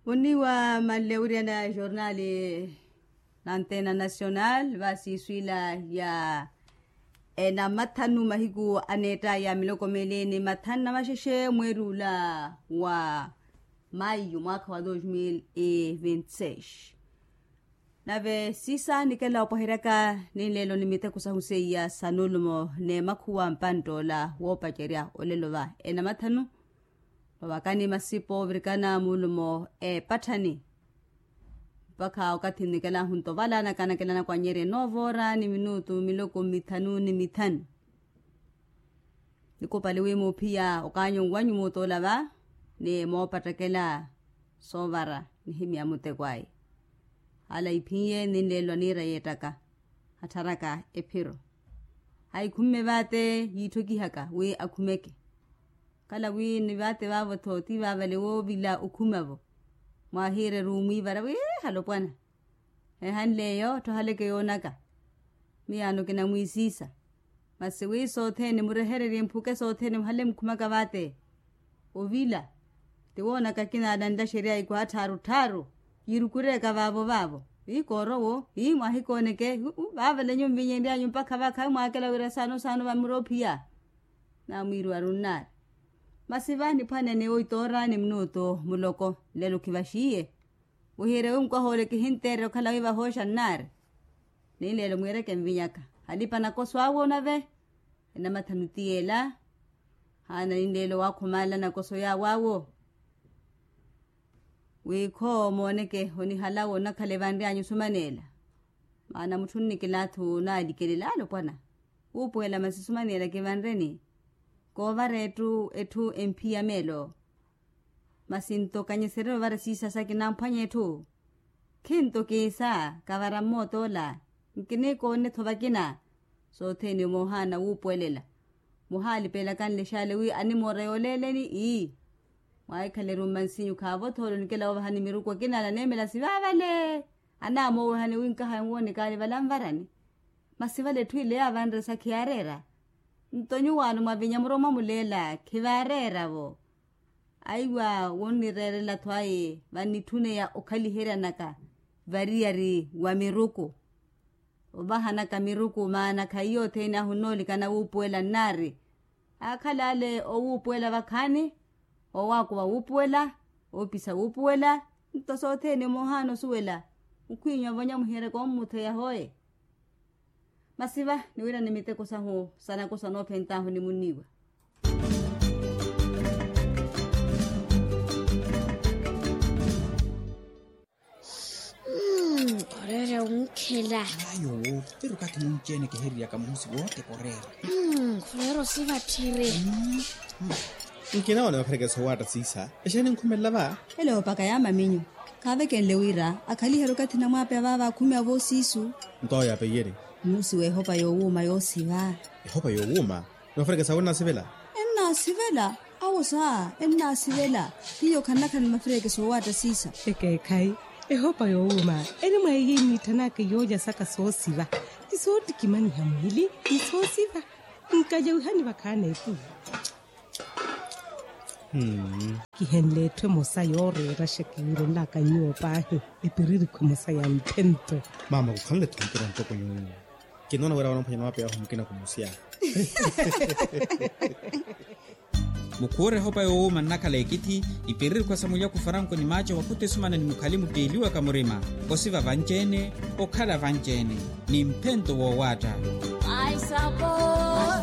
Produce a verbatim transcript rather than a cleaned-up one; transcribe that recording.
Muniwa manle wiriana jornali na antena nasional va siiswila ya enamathanu mahiku aneettaya miloko meeli ni mathanu na maxexe mweeri ula wa mayu mwaakha wa dos mil e vinti seis. Nave siisa nikela opwaheryaka ninleelo ni miteko sahu seiya sa nulumo n'emakhuwa mpantt'ola woopacerya olelo va enamathanu. Vavakani masipa ovirikana mulumo eepatthani mpakha okathi nnikela ahunto valaanaka anakelanaka wanyeerya enoovoora ni minutu miloko mithanu ni mithanu. Nikupali wi muuphiya okaanyu nwanyu muutoola va ni moopattakela soovara nihimya muteko ayi. Hala iphinye ninleelo aniira yeettaka attharaka ephiro. Ayi khumme vaate yiitthokihaka wi akhumeke. Kala wi ni vaate vaavo-tho ti vaavale woovila okhuma-vo. Mwaahiire ruumwiivara wi halopwana ehanle eyo tthoohaleke yoonaka. Miyaano kinamwiisiisa. Masi wi sothene murehererye mphuke sothene muhale mukhumaka vaate. Ovila ti woonaka kinaala nlaxerya ikwaha tthaaru tthaaru yirukureeka vaavo vaavo. Ii koorowo ii mwaahikooneke. Vaavale nyuwo mvinyenryanyu mpakha vakhavi mwaakela wira saano saano vamuroophiya. Namwiiriwa runnaari. Masi va niphwanene oitoora ni minutu muloko nlelo khivaxiiye. Wihiire wi mukwaha ole kihinteererya okhala wi vahooxa nnaari. Ninleelo mwiireke nvinyaka halipa nakoso awe onave. Enamathanu ti yeela. Haana ninleelo waakhumala nakoso yaawe awo. Wi khoo mooneke onihalawo onakhala evanryanyu osumaneela. Maana mutthu nnikilaathi onaalikelela alopwana. Wuupuwela masi osumaneela kivanreni. Koovara etthu etthu emphiya meelo. Masi nto kanyeserye ovara siisa sa kinamphwanya etthu. Khinto kiisa kavara mmootoola. Nkinikoone-tho vakina. Sothene moohaana wuupuwelela. Muhaalipeelaka nlexaale wi animoora yooleeleni ii. Mwaahikhala erumma nsinyu khaavo-tho ole onikela woovahani miruku akina ala aneemela sivaavale. Anaamowehani wi nkaha enwoonekaale vala nvarani. Masi vale etthu ile yaavanresa khiyaareera. Nto nyuwaano mwavinya muromwa muleela khivaareera-vo. Aiwa wonnireerela-tho aye vannitthuneya okhaliheryanaka variyari wa miruku. Ovahanaka miruku maana khaiyo othene ahu nnoolikana wuupuwela nnaari. Aakhala ale owuupuwela vakhaani. Owaakuva wuupuwela. Oopisa wuupuwela. Nto sothene moohaana osuwela. Mukhwiinyu avonya muhiyeryaka ommutheya hooye. Masi va niwirani miteko sahu sa nakoso anoophent'ahu ni muniiwa. Mmm, khureera wunkhela. Ayo. Pero kathi munci-ene kihiryaka muhusi wote khureera. Mmm, khureera osiva tthiri. Nkinaona vakharekesa owaatta siisa. Exeeni nkhumelela va? Ele oopaka yaamaminyu. Khaavekenle wira akhaliherye okathi namwaapeya vaava akhumeya voosiisu. Nto ayo apeyerye. Muusi w'ehopa yoowuuma yoosiva. Ehopa yoowuuma? Ni mafireke sawe ennaasivela? Ennaasivela. Awo saa ennaasivela. Hiyo khannakhana ni mafireke soowaatta siisa. Ekeekhayi. Ehopa yoowuuma eri mwa iyo iniitthanaka iyoolya saka soosiva. Ti soottikimaniha mwiili ni soosiva. Nkalya wihani vakhaana eku. Kihenle etthu emosa yooreeraxa kiwirelaka nyuwo paahi. Epiririkhu emosa ya mphento. Maama khukhanle-tho mpira ntoko nyuwo. Kinoona wira wanaphwanya na mapeya ahu mukina khumusiya. Mukhuure ehopa yoowuuma nnakhala ekithi. Ipiririkhu sa mulyaku faranko ni maaca wakhuta esumana ni mukhali mutteeliwaka murima. Osiva vanci-ene. Okhala vanci-ene. Ni mphento woowaatta. Ai sabor.